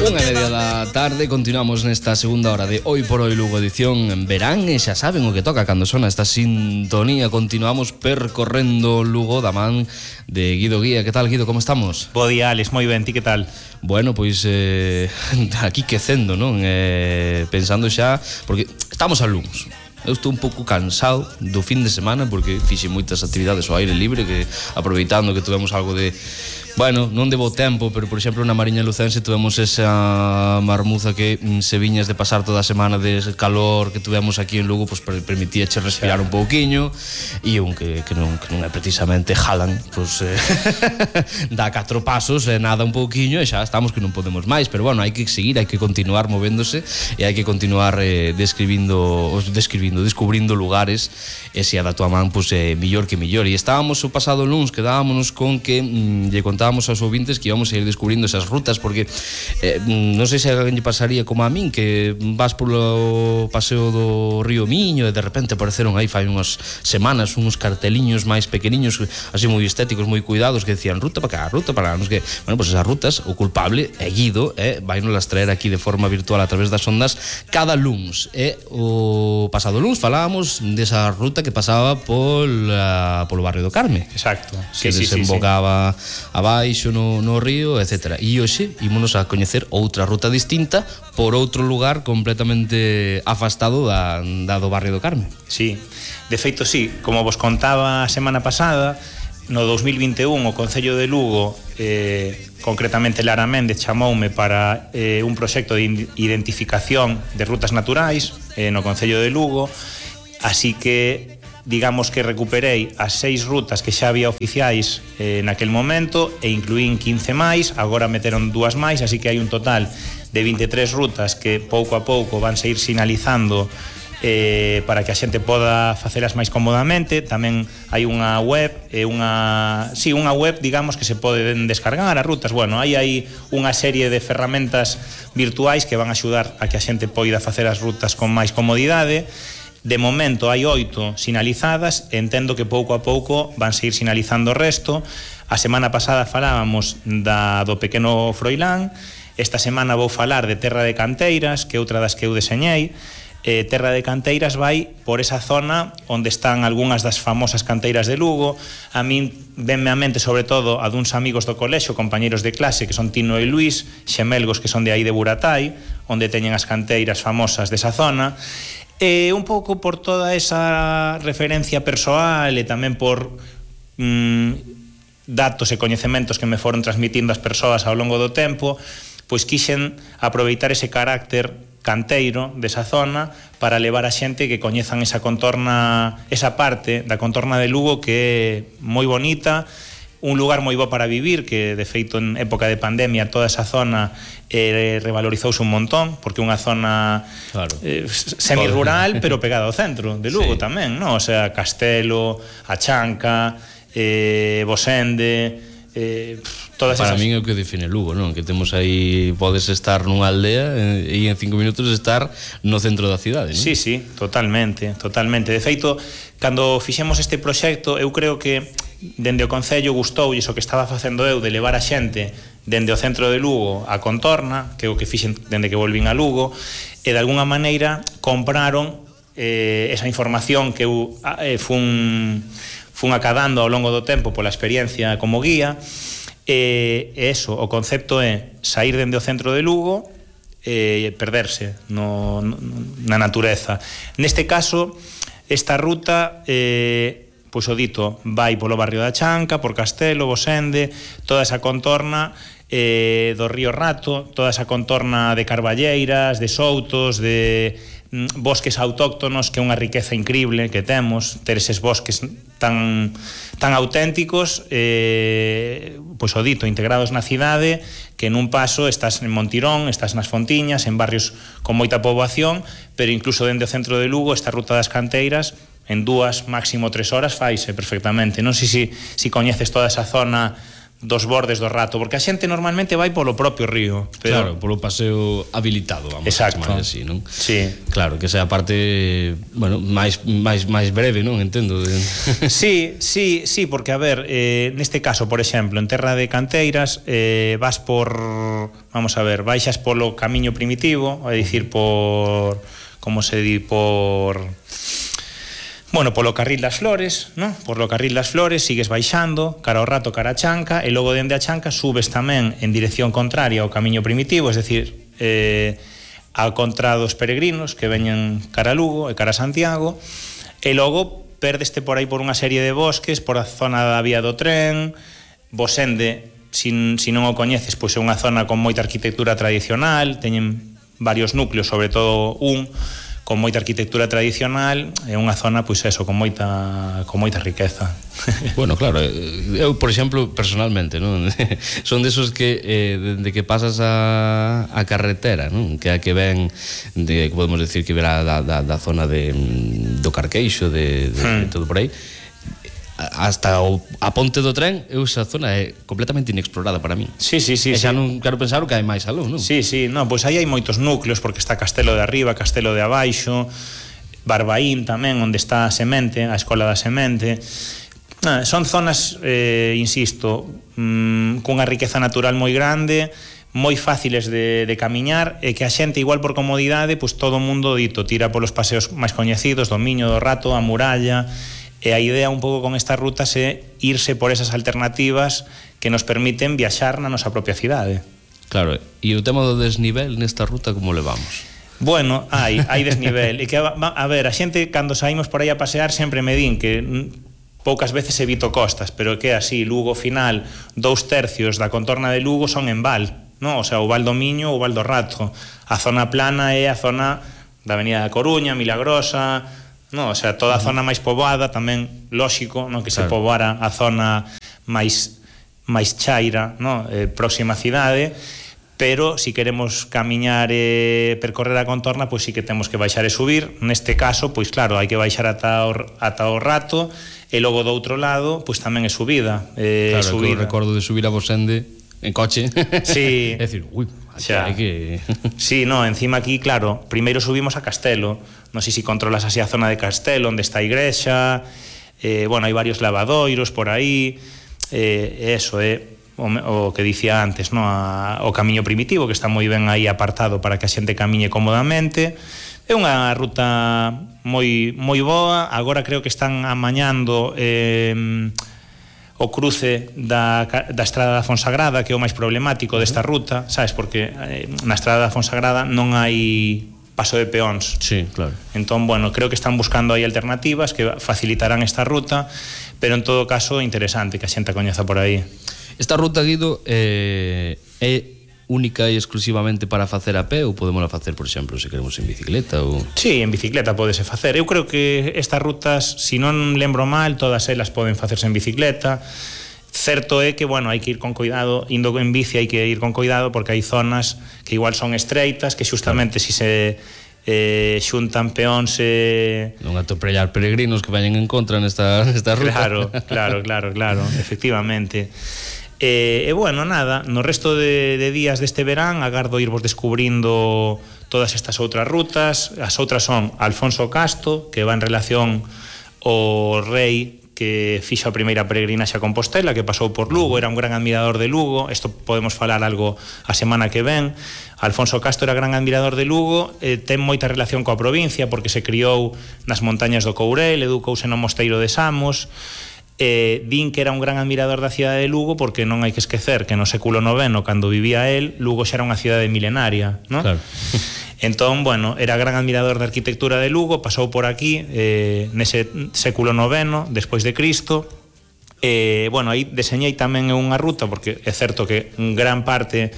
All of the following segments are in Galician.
1:30 da tarde, continuamos nesta segunda hora de Hoy por Hoy Lugo, edición en verán, e xa saben o que toca cando sona esta sintonía. Continuamos percorrendo Lugo da man de Guido Guía. Que tal, Guido, como estamos? Bo día, Alex, moi ben, ti que tal? Bueno, pois aquí quecendo, non? Pensando xa, porque estamos a luns. Eu estou un pouco cansado do fin de semana porque fixe moitas actividades ao aire libre, que aproveitando que tuvemos algo de, bueno, non de bo tempo, pero por exemplo na Mariña Lucense tuvemos esa marmuza que se viñas de pasar toda a semana de calor que tuvemos aquí en Lugo, pois permitíache respirar un pouquiño, e un que non é precisamente Jalan, pois dá 4 pasos e nada un pouquiño e xa estamos que non podemos máis, pero bueno, hai que seguir, hai que continuar movéndose e hai que continuar descubrindo lugares, e se a da tua man, pois millor que millor. E estábamos o pasado luns, quedábamos con que lle contábamos aos ouvintes que íbamos a ir descubrindo esas rutas, porque non sei se a alguén lle pasaría como a min, que vas polo paseo do Río Miño e de repente apareceron aí fai unhas semanas uns carteliños máis pequeniños, así moi estéticos, moi cuidados, que decían ruta para cá, ruta para lá, non sei que. Bueno, pois esas rutas, o culpable é Guido, vai nos las traer aquí de forma virtual a través das ondas cada luns. E o pasado luns falábamos desa ruta que pasaba polo barrio do Carme. Exacto. Que desembocaba abaixo no río, etc. E hoxe ímonos a coñecer outra ruta distinta por outro lugar completamente afastado da do barrio do Carme. Sí, de feito sí, como vos contaba a semana pasada, no 2021 o Concello de Lugo, concretamente Lara Méndez, chamoume para un proxecto de identificación de rutas naturais no Concello de Lugo, así que digamos que recuperei as 6 rutas que xa había oficiais naquel momento e incluín 15 máis, agora meteron 2 máis, así que hai un total de 23 rutas que pouco a pouco van a ir sinalizando para que a xente poda facelas máis cómodamente. Tamén hai unha web, unha web, digamos, que se poden descargar as rutas. Bueno, hai unha serie de ferramentas virtuais que van a axudar a que a xente poida facer as rutas con máis comodidade. De momento hai 8 sinalizadas, entendo que pouco a pouco van a ir sinalizando o resto. A semana pasada falábamos do pequeno Froilán, esta semana vou falar de Terra de Canteiras, que é outra das que eu deseñei. Terra de Canteiras vai por esa zona onde están algunhas das famosas canteiras de Lugo. A min venme a mente sobre todo a duns amigos do colexo, compañeros de clase, que son Tino e Luís, xemelgos que son de aí de Buratai, onde teñen as canteiras famosas desa zona. Un pouco por toda esa referencia persoal e tamén por datos e coñecementos que me foron transmitindo as persoas ao longo do tempo, pois quixen aproveitar ese carácter canteiro desa zona para levar a xente que coñezan esa parte da contorna de Lugo, que é moi bonita, un lugar moi bo para vivir, que de feito en época de pandemia toda esa zona revalorizouse un montón, porque é unha zona semi-rural, pero pegada ao centro de Lugo, sí. Tamén, non? O sea, Castelo, A Chanca, Bosende, todas para esas... min é o que define Lugo, non? Que temos aí, podes estar nunha aldea e en 5 minutos estar no centro da cidade, non? Sí, totalmente. De feito, cando fixemos este proxecto, eu creo que dende o Concello gustoulle iso que estaba facendo eu de levar a xente dende o centro de Lugo a contorna, que é o que fixen dende que volvín a Lugo, e de alguna maneira compraron esa información que eu fun acadando ao longo do tempo pola experiencia como guía. Eso, o concepto é sair dende o centro de Lugo e perderse na natureza. Neste caso, esta ruta, pois o dito, vai polo barrio da Chanca, por Castelo, Bosende, toda esa contorna do río Rato, toda esa contorna de carballeiras, de soutos, de bosques autóctonos, que é unha riqueza increíble que temos, ter eses bosques tan auténticos, pois o dito, integrados na cidade, que nun paso estás en Montirón, estás nas Fontiñas, en barrios con moita poboación, pero incluso dende o centro de Lugo, esta ruta das canteiras, en 2, máximo 3 horas faise perfectamente. Non sei se coñeces toda esa zona dos bordes do Rato, porque a xente normalmente vai polo propio río, pero... Claro, polo paseo habilitado, vamos a chamar así, non? Sí. Claro, que sea a parte, bueno, máis breve, non? Entendo. Sí, porque a ver, neste caso, por exemplo, en Terra de Canteiras, vas por, vamos a ver, baixas polo camiño primitivo, é dicir, por, como se di, bueno, polo Carril das Flores, ¿no? Por lo Carril das Flores sigues baixando, cara ao Rato, cara a Chanca, e logo dende a Chanca subes tamén en dirección contraria ao camiño primitivo, es decir, ao contra dos peregrinos que veñen cara a Lugo e cara a Santiago, e logo perdeste por aí por unha serie de bosques, por a zona da vía do tren. Bosende, se non o coñeces, pois é unha zona con moita arquitectura tradicional, teñen varios núcleos, sobre todo un con moita arquitectura tradicional, é unha zona, pois eso, con moita riqueza. Bueno, claro, eu, por exemplo, personalmente, non? Son desos que, dende que pasas a carretera, non? Que a que ven, que podemos decir que verá da zona do Carqueixo, de todo por aí, hasta a ponte do tren, esa zona é completamente inexplorada para mí. Sí. E xa non quero pensar o que hai máis aló, non? Sí, non, pois aí hai moitos núcleos, porque está Castelo de Arriba, Castelo de Abaixo, Barbaín tamén, onde está a Semente, a Escola da Semente. Son zonas, insisto, cunha riqueza natural moi grande, moi fáciles de camiñar, e que a xente, igual por comodidade, pois todo o mundo dito tira polos paseos máis coñecidos, do Miño do Rato, a Muralla. E a idea un pouco con estas rutas é irse por esas alternativas que nos permiten viaxar na nosa propia cidade. Claro, e o tema do desnivel nesta ruta como levamos? Bueno, hai desnivel. E que, a ver, a xente cando saímos por aí a pasear sempre me din que poucas veces evito costas, pero que así, Lugo final, 2/3 da contorna de Lugo son en val, non? O sea, o Val do Miño ou o Val do Rato. A zona plana é a zona da Avenida da Coruña, Milagrosa, no, o sea, toda a zona máis poboada tamén, lóxico, no, que se poboara a zona máis chaira, no, próxima a cidade, pero se queremos camiñar e percorrer a contorna, pois sí que temos que baixar e subir. Neste caso, pois claro, hai que baixar ata o Rato, e logo do outro lado, pois tamén é subida. Claro, subida. Que o recordo de subir a Bosende en coche. Sí. É dicir, ui, xa hai que... Sí, no, encima aquí, claro, primeiro subimos a Castelo. Non sei se controlas así a zona de Castelo, onde está a igrexa. Bueno, hai varios lavadoiros por aí. Eso é o que dicía antes, no? O camiño primitivo, que está moi ben aí apartado para que a xente camiñe cómodamente. É unha ruta moi boa. Agora creo que están amañando o cruce da Estrada da Fonsagrada, que é o máis problemático desta ruta, sabes, porque na Estrada da Fonsagrada non hai paso de peóns. Sí, claro. Entón, bueno, creo que están buscando aí alternativas que facilitarán esta ruta, pero en todo caso interesante que a xente a coñeza por aí. Esta ruta, Guido, é única e exclusivamente para facer a pé, ou podemos facer, por exemplo, se queremos en bicicleta ou... Sí, en bicicleta podese facer. Eu creo que estas rutas, se non lembro mal, todas elas poden facerse en bicicleta. Certo é que, bueno, hai que ir con cuidado, indo en bici hai que ir con cuidado, porque hai zonas que igual son estreitas, que xustamente se xuntan peóns non atropellar peregrinos que vayan en contra nesta ruta. Claro, efectivamente. E bueno, nada, no resto de días deste verán agardo irvos descubrindo todas estas outras rutas. As outras son Alfonso Casto, que va en relación ao rei que fixo a primeira peregrinaxe a Compostela, que pasou por Lugo, era un gran admirador de Lugo. Isto podemos falar algo a semana que ven. Alfonso Casto era gran admirador de Lugo, ten moita relación coa provincia, porque se criou nas montañas do Courel, educouse no mosteiro de Samos. Din que era un gran admirador da cidade de Lugo, porque non hai que esquecer que no século IX, cando vivía él, Lugo xa era unha cidade milenaria, ¿no? Claro. Entón, bueno, era gran admirador da arquitectura de Lugo, pasou por aquí nese século IX, despois de Cristo. Bueno, aí deseñei tamén unha ruta, porque é certo que gran parte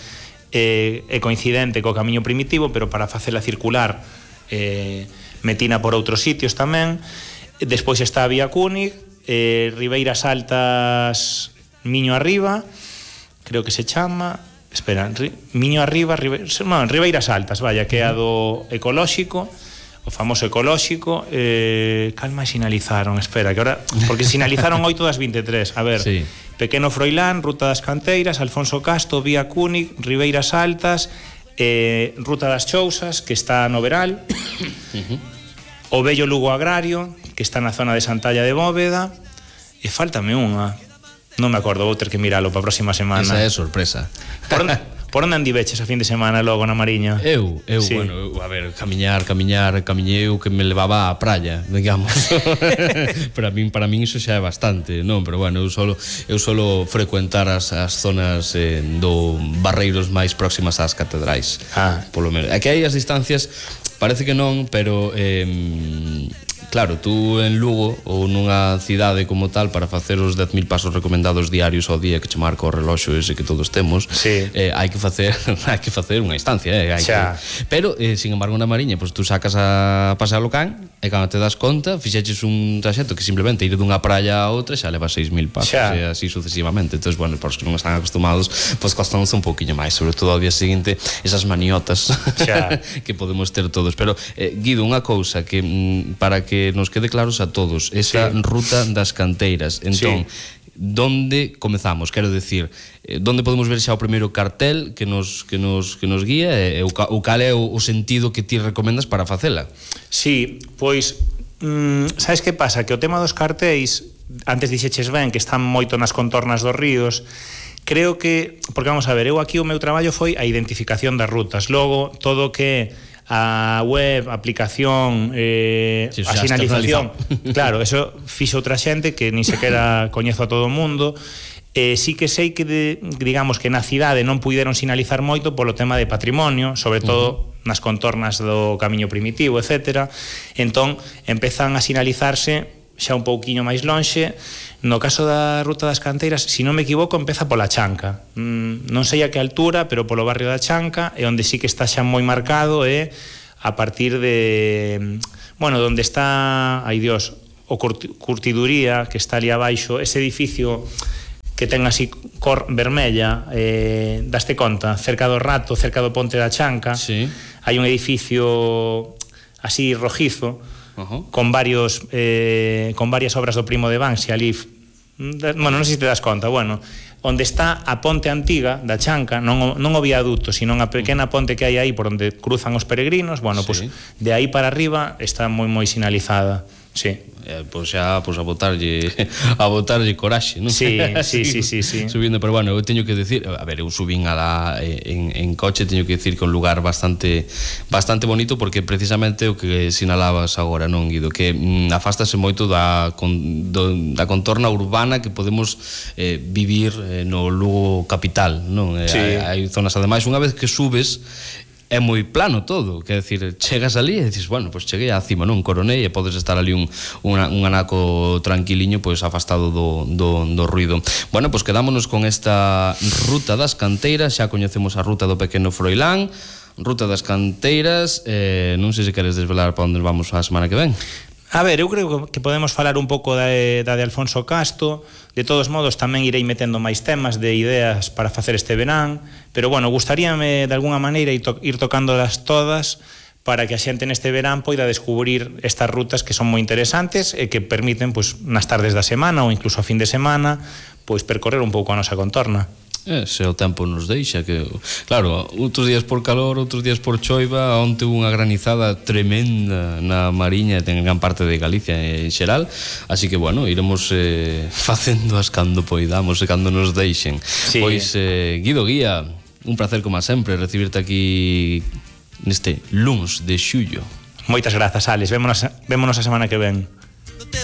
é coincidente co camiño primitivo, pero para facela circular metina por outros sitios tamén. Despois está a Vía Cúnig, Ribeiras Altas, Miño Arriba, creo que se chama, espera, Miño Arriba, Ribeiras Altas, vaya, que é a do ecolóxico, o famoso ecolóxico. Cal máis sinalizaron? Espera, que ahora, porque sinalizaron 8 das 23. A ver, sí. Pequeno Froilán, Ruta das Canteiras, Alfonso Casto, Vía Cúnic, Ribeiras Altas, Ruta das Chousas, que está no Veral, o Bello Lugo Agrario, que está na zona de Santalla de Bóveda, e faltame unha, non me acordo, vou ter que miralo para a próxima semana. Esa é sorpresa. Por onde andiveches a fin de semana logo na Mariña? Eu, sí. Bueno, a ver, camiñei eu que me levaba á praia, digamos. Para min iso xa é bastante, non? Pero bueno, eu solo frecuentar as zonas do Barreiros máis próximas ás catedrais. Polo menos. Aquí hai as distancias, parece que non, pero claro, tú en Lugo ou nunha cidade como tal, para facer os 10.000 pasos recomendados diarios ao día que che marca o reloxo ese que todos temos, sí. Hai que facer unha instancia, pero, sin embargo, na Mariña, pues, tú sacas a pasear o can e cando te das conta, fixeches un traxecto que simplemente ir dunha praia a outra xa leva 6.000 pasos, e así sucesivamente. Entón, bueno, para os que non están acostumados, pues costanos un poquinho máis, sobre todo ao día seguinte, esas maniotas que podemos ter todos. Pero, Guido, unha cousa que para que nos quede claros a todos, esa ruta das canteiras, entón, donde comezamos? Quero decir, donde podemos ver xa o primeiro cartel que nos guía, e o cal é o sentido que ti recomendas para facela? Sí, pois, sabes que pasa? Que o tema dos cartéis, antes dixeches ben que están moito nas contornas dos ríos. Creo que, porque vamos a ver, eu aquí o meu traballo foi a identificación das rutas, logo todo que a web, a aplicación, a sinalización, claro, eso fixo outra xente que nin sequera coñezo a todo o mundo. Sí que sei que digamos que na cidade non puideron sinalizar moito polo tema de patrimonio, sobre todo nas contornas do camiño primitivo, etc. Entón empezan a sinalizarse xa un pouquiño máis lonxe. No caso da Ruta das Canteiras, se non me equivoco, empeza pola Chanca. Non sei a que altura, pero polo barrio da Chanca, e onde sí que está xa moi marcado é a partir de, bueno, onde está, ai Dios, o Curtiduría, que está ali abaixo, ese edificio que ten así cor vermella, daste conta, cerca do Rato, cerca do Ponte da Chanca, sí. Hai un edificio así rojizo, con varias obras do Primo de Banksy ali, bueno, non sei se te das conta, bueno, onde está a ponte antiga da Chanca, non o viaduto, sino a pequena ponte que hai aí por onde cruzan os peregrinos, bueno, sí. Pues de aí para arriba está moi sinalizada, sí. Pois xa, a botarlle coraxe, non? Sí. Subindo, pero bueno, eu teño que decir, a ver, eu subín en coche, teño que decir que é un lugar bastante bonito, porque precisamente o que sinalabas agora, non, Guido, que afástase moito da contorna urbana que podemos vivir no Lugo capital, non? Sí. Hai zonas, ademais, unha vez que subes, é moi plano todo, quer decir, chegas ali e dices, bueno, pois cheguei á cima, non, coronei, e podes estar ali un anaco tranquiliño, pois afastado do ruido. Bueno, pois quedámonos con esta Ruta das Canteiras, xa coñecemos a ruta do Pequeno Froilán, Ruta das Canteiras, non sei se queres desvelar para onde vamos a semana que ven. A ver, eu creo que podemos falar un pouco da de Alfonso Casto. De todos modos, tamén irei metendo máis temas de ideas para facer este verán, pero bueno, gustaríame de alguna maneira ir tocándolas todas para que a xente neste verán poida descubrir estas rutas que son moi interesantes e que permiten, pois, nas tardes da semana ou incluso a fin de semana, pois percorrer un pouco a nosa contorna. Se o tempo nos deixa, que claro, outros días por calor, outros días por choiva, onte unha granizada tremenda na Mariña e en gran parte de Galicia en xeral, así que bueno, iremos facendo as cando poidamos e cando nos deixen. Sí. Pois, Guido Guía, un placer como sempre recibirte aquí neste luns de xullo. Moitas grazas, Alex, vémonos a semana que ven.